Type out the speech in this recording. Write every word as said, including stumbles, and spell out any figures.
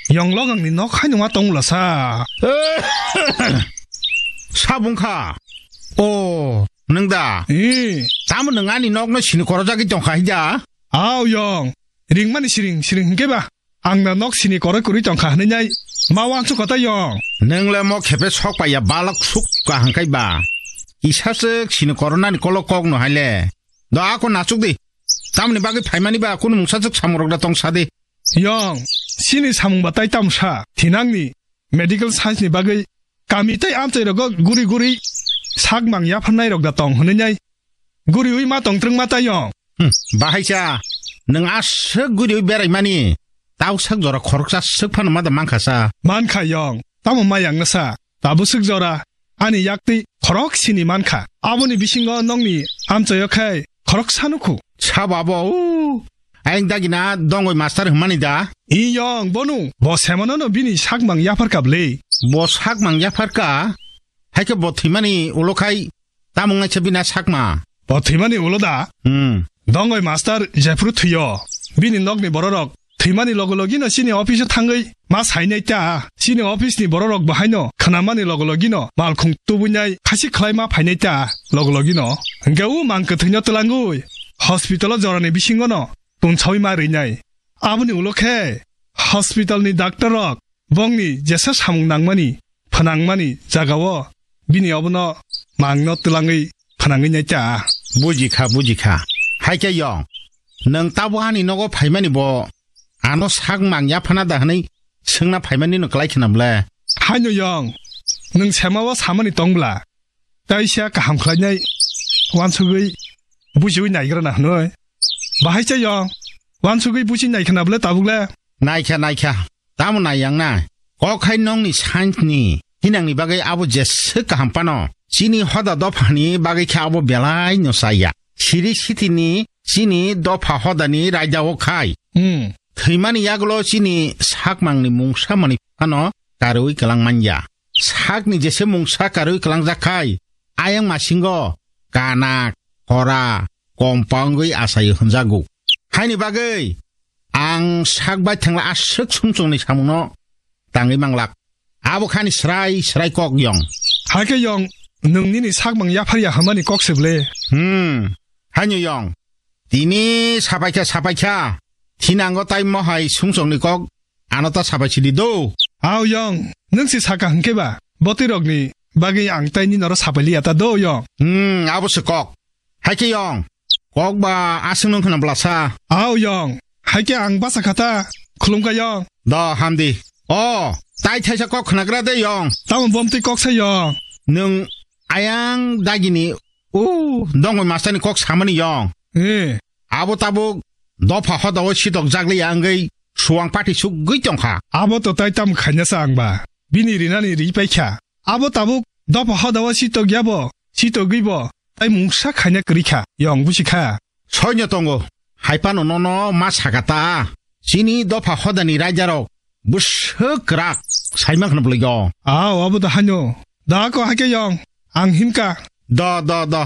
Yong logangni nok haino ma tongla sa. Sabung kha. O, nwng da? Eh. Tamo nwng ani nokno sini korojagwi tongkha hija? Aw yong. Ringmani siring, siring hwnkhe ba. Ang na nok sini koroi kwrwi tongkha hwnwi nai. Ma wansuk kota yong. Nwng le mo khepe sok paiya balok suk kaham kai ba. Kisa sik sini koronani kolok kok no hai le. Do ako nasuk di. Tamoni bagwi phaimani ba kunu mungsa sik samung rok da tong sa di. Yong, sini samung ba tai tamsa, thinangni medical science ni bagwi kami tai amchai rogo guri guri sak mang yapharnai rok da tong hwnwi nai. Guriwi ma tong trwng ma tai yong. Hmm, bahaisa, nwng aswk guriwi beraimani, tau sak jora khoroksa swk phano ma da mankha sa. Mankha yong, tamo ma yang na sa, tabuk swk jora, ani yaktwi khorok sini mankha. Aboni bisingo nongni amchaio khai khorok sanukhu. Sabo abo, u, ayang dagina dongoi master hwnmani da? I yong, bonu, bo semano no bini sakmang yapharkha bwle. Bo sakmang yapharkha? Haikhe bo thwimani ulo khai tamung naisa bini sakma? Bo thwimani ulo da? Hmm. Dongoi master jephru thwiyo, bini nokni bororok thwimani logo logino chini office-o thangwi ma sainai ta. Chini office-ni bororok bo haino khnamani logo logino malkhung tubuinai khasi khlai ma phainai ta logo logino. Hwnkhe u mang kwthwino twlangwi hospital-o jorani bisingono tunsawi ma rwinai. Aboni ulo khe hospital-ni doctor-rok bongni jesa samung nangmani, phnangmani jagao bini obono mangno twlangwi phnangwi nai ta. Bujikha, bujikha. Haikhe yong, nwng tabo ani nogo phaimani bo ano sak mang yaphana da hwnwi swngna phaimani no klai khna bwle? Haino yong, nwng semao samani tongbla, taisa kaham khlainai wansugwi bujiwi naigrana hwnwi. Bahaisa yong, wansugwi buji naikhna bwle tabukle? Naikha, naikha. Tamo nai yang na? Kok hai nongni science ni hinangni bagwi abo jeswk kaham phano. Chini hoda dophani bagwi khe abo belai no chaya. Siri sitini chini dopha hodani raida o khai. Hmm. Thwimani yagulo chini sakmangni mungsa mani phano karwi kwlang manya. Sakni jese mungsa karwi kwlangjak khai, ayang masingo kana, khora, kompa wngwi achaio hwnjago. Haini bagwi ang sak bai thangla aswk sumsokni samungno tangwi manglak. Abo khani srai srai kok yong. Haikhe yong, nwng nini sakmang yapharya hwnmani kok se bwle? Hmm, haino yong. Tini sapaikha, sapaikha. Thinango tai mohai sumsokni kok ano ta sapai sidi do. Aw yong, nwng se saka hwnkhe ba, botwi rokni bagwi ang tai nini oro sapai liya ta do yong. Hmm, abo se kok. Haikhe yong, kok ba aswk nung khna bwlasa. Aw yong, haikhe ang basa kha ta, khulumkha yong. Do hamdi. O, tai thaisa kok khnagra de yong. Tamo bomtwi kok sa yong. Nwng ayang dagini, u, dongoi masterni kok samani yong. Eh. Abo tabuk dopha hodao sitok jakliya wngwi suwang pati sugwi tongkha. Abo to tai tam khainasa ang ba. Bini rinani ri paikha. Abo tabuk dopha hodao sitok yabo, sitogwi bo tai mungsa khaina kwrwi kha, yong busi kha. Soino tongo, hai phano nono ma saka ta. Chini dopha hodani raidarok bwswk kwrak, saima khna bwlwi o. Aw, abo da haino. Da ko haikhe yong, ang himka. Do, do, do.